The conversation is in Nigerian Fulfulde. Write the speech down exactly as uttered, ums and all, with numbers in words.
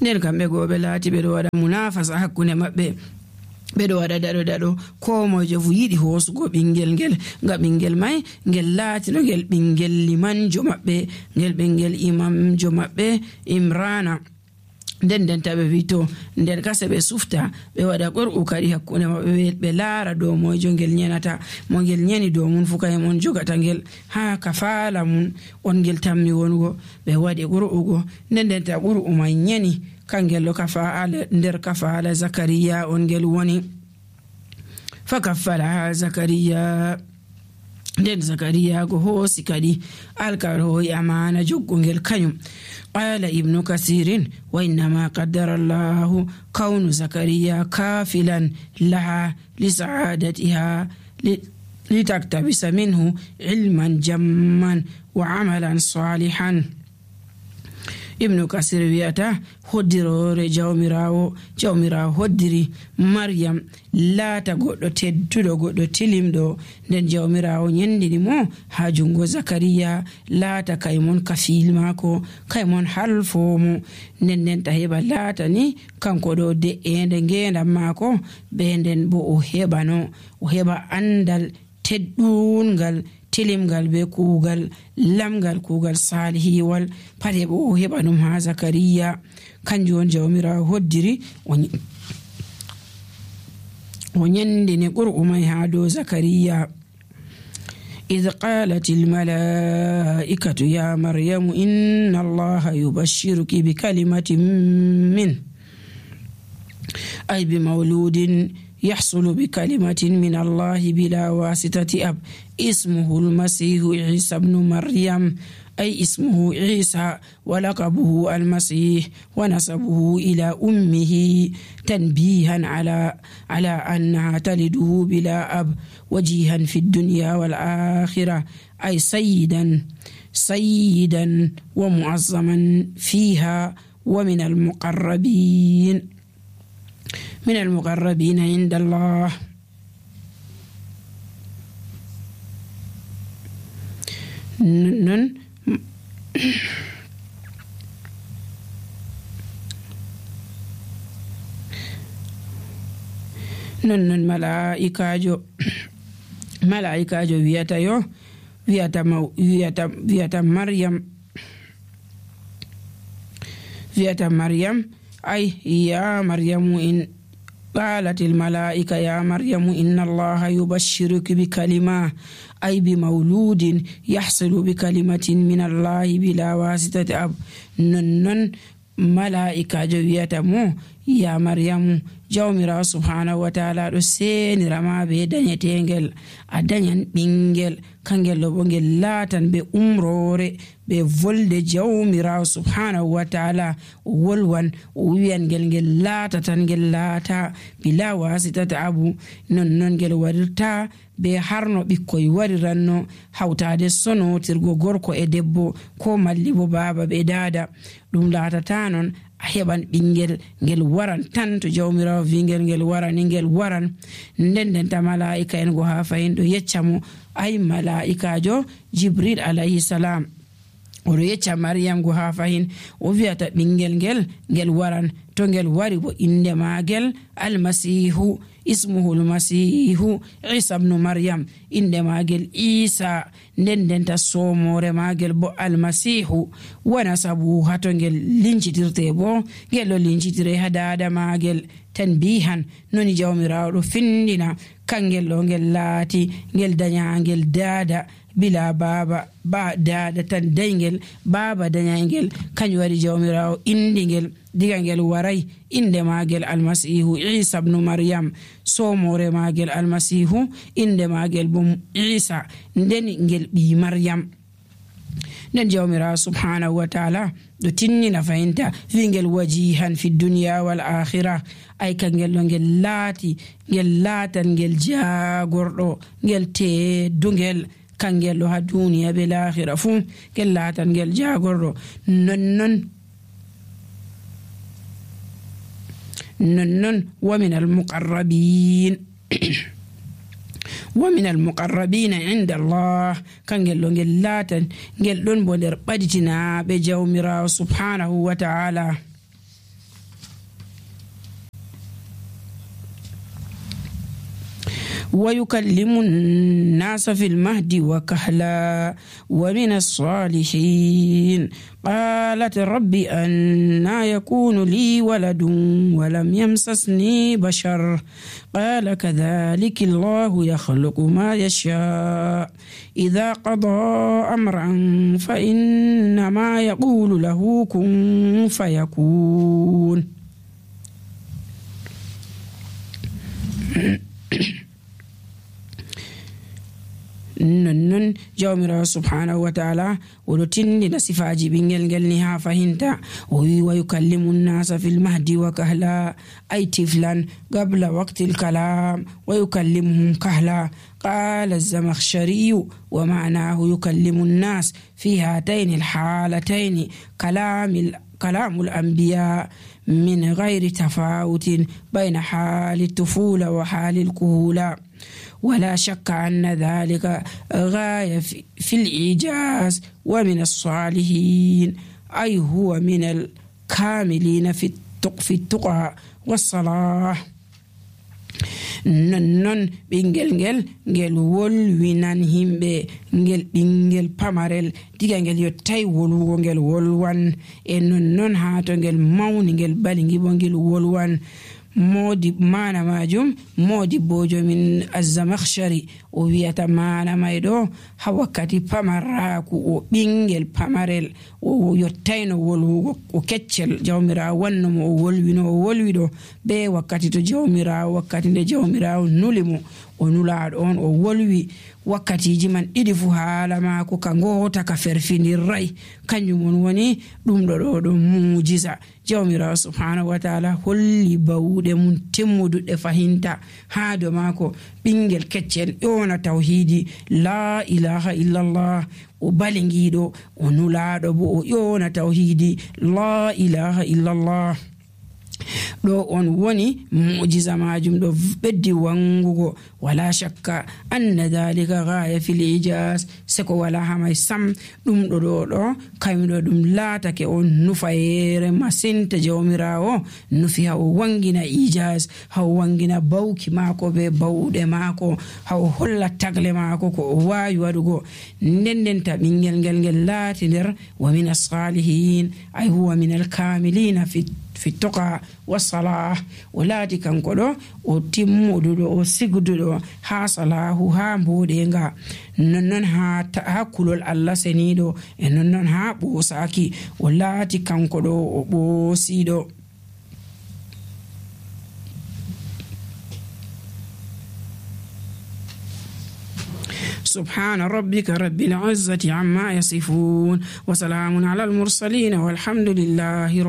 nden kamɓe goo ɓe laati ɓe ɗo waɗa munafasa hakkunde maɓɓe, ɓe ɗo waɗa daɗo daɗo ko mojo fu yiɗi hoosugo ɓingel ngel, nga ɓingel mai ngel laatino ngel ɓingel limanjo maɓɓe, ngel ɓingel imamjo maɓɓe Imrana. nden nden taɓe wi to nden kase ɓe sufta ɓe waɗa qur'u kadi hakkunde maɓɓe, ɓe laara dow mojo ngel nyenata, mo ngel nyeni dow mun fu kayum on jogata ngel ha kafala mun on ngel tammi wongo. ɓe waɗi qur'u go, nden nden ta qur'u mai nyeni kangel ɗo kafala nder kafala Zakariya on ngel woni. fa kaffalaha Zakariya, nden Zakariya go hoosi kadi alkawal hoyi amana joggongel kanyum. qala ibnu kasirin wa innama qaddara allahu kawnu Zakariya kafilan laha li sa'adatiha litaktabisa minhu ilman jamman wa amalan salihan. ibnu kasir wiyata hoddirore jawmirawo jawmirawo hoddiri Maryam laata goɗɗo tedduɗo, goɗɗo tilimɗo, nden jawmirawo nyendini mo ha jungo Zakariya laata kaymon kafil mako, kaymon halfomo, nden nden ta heɓa laata ni kanko ɗo de'ende ngendam mako, be nden bo o heɓano o heɓa andal teddungal tilimgal be kuugal lamgal, kuugal salihiwal pat heɓa o heɓa ɗum ha Zakariya. kanjum on jawmirawo hoddiri o nyandini qur'u mai ha dow Zakariya. إذ قالت الملائكة يا مريم إن الله يبشرك بكلمة منه أي بمولود يحصل بكلمة من الله بلا واسطة أب اسمه المسيح عيسى بن مريم، أي اسمه عيسى ولقبه المسيح ونسبه إلى أمه تنبيها على على أنها تلده بلا أب وجيها في الدنيا والآخرة، أي سيدا سيدا ومعظما فيها ومن المقربين من المقربين عند الله. نن نن ملائكة ملائكة وياتا يو وياتا وياتا وياتا مريم وياتا مريم أي يا مريم إن قالت الملائكة يا مريم إن الله يبشرك بكلمة أي بمولود يحصل بكلمة من الله بلا واسطة أب. نن ملائكة جوية مو يا مريم jawmirawo subhanahu wa ta'ala ɗo senirama be dañetengel a dañan ɓingel, kangel ɗo bo ngel laatan be umrore be volde jawmirawo subhanahu wa ta'ala o wolwan o wiyan ngel ngel laata tan ngel laata bila wasitata abu. non non ngel waɗirta be harno ɓikkoy wariranno hawtade sonotirgo gorko e debbo ko malli bo baba be dada, ɗum laatata non a heɓan ɓingel ngel waran tan to jawmirawo wingel ngel warani ngel waran. nden nden ta malaika en go ha fayin ɗo yecca mo, ay malaikajo Jibril alayhi salam oɗo yecca Maryam go ha fayin o wiyata ɓingel ngel ngel waran, to ngel wari bo inde magel almasihu ismuhu almasihu Isa ibn Maryam, inde magel Isa, nden nden ta somore magel bo almasihu, wana sabu hato ngel lincitirte bo ngel ɗo lincitire ha dada magel tanbihan noni jawmirawo ɗo findina kangel ɗo ngel laati ngel daña ngel dada bila baba ba dada tan dayngel baba dañangel, kanjum waɗi jawmirawo indi ngel diga ngel waray inde magel almasihu Isa ibn Maryam, somore magel almasihu, inde magel bo Isa, nden ngel ɓi Maryam. nden jawmirawo subhanahu wa ta'ala ɗo tinnina fayinta wingel wajihan fi dunya wal akhirah, ay kangel ɗo ngel laati ngel laatan ngel jagorɗo ngel teddungel, kangel ɗo ha duniya be lahira fu ngel laatan ngel jagorɗo. nonnon nonnon wa min almuqarrabin wa min almuqarrabina inda Allah, kangel ɗo ngel laatan ngel ɗon bo nder ɓaditina ɓe jawmirawo subhanahu wa ta'ala. ويكلم الناس في المهد وكهلا ومن الصالحين قالت رب أنى يكون لي ولد ولم يمسسني بشر قال كذلك الله يخلق ما يشاء إذا قضى أمرا فإنما يقول له كن فيكون. nonnon jawmirawo subhanahu wa ta'ala oɗo tindina sifaji ɓingel ngel ni ha fahinta. o wi wa yukallimu nnasa fil mahdi wa kahla ay tiflan qabla waqti lkalam wa yukallimuhum kahla. قال الزمخشري ومعناه يكلم الناس في هاتين الحالتين كلام كلام الأنبياء من غير تفاوت بين حال الطفولة وحال الكهولة، ولا شك أن ذلك غاية في الإيجاز ومن الصالحين، أي هو من الكاملين في التقى والصلاح. nonnon ɓingel ngel ngel wolwinan himɓe ngel ɓingel pamarel diga ngel yottai wolwugo ngel wolwan e nonnon ha to ngel mawni ngel balingi bo ngel wolwan. modi mana majum modi bojo min az-Zamakhshari o wiyata mana may ɗo ha wakkati pamarraku o ɓingel pamarel o yottaino wolwugo o keccel jawmirawo wannomo o wolwino o wolwiɗo be wakkati to jawmirawo wakkati nde jawmirawo nuli mo o nulaɗo on o wolwi wakkatiji man ɗiɗi fu haala mako ka ngota ka ferfinirray kanjum on woni ɗum ɗo ɗo ɗo mujiza jawmirawo subhanahu wa ta'ala holli bawuɗe mum temmuduɗe fahinta ha do mako ɓingel keccel ƴona tawhidi la ilaha illallah o balingiɗo o nulaɗo bo o ƴona tawhidi la ilaha illallah. ɗo on woni mujiza majum ɗo ɓeddi wangugo wala shakka anna dhalika ghaya fil ijaz seko wala hamay sam ɗum ɗo ɗo ɗo kaymiɗo ɗum laatake on nufayere masinta jawmirawo nufi ha o wangina ijaz ha o wangina bawki mako be bawɗe mako ha o holla tagle mako ko o wawi waɗugo ndendenta ɓingel ngel ngel laati nder wa min as-salihin ay huwa min al-kamilina fi fi tuqa wa salah o laati kanko ɗo o timmuduɗo o sigduɗo ha salahu ha mboɗenga nonnon ha hakkulol Allah seniɗo e nonnon ha ɓosaki o laati kanko ɗo o ɓosiɗo. سبحان ربك رب العزة عما يصفون وسلام على المرسلين والحمد لله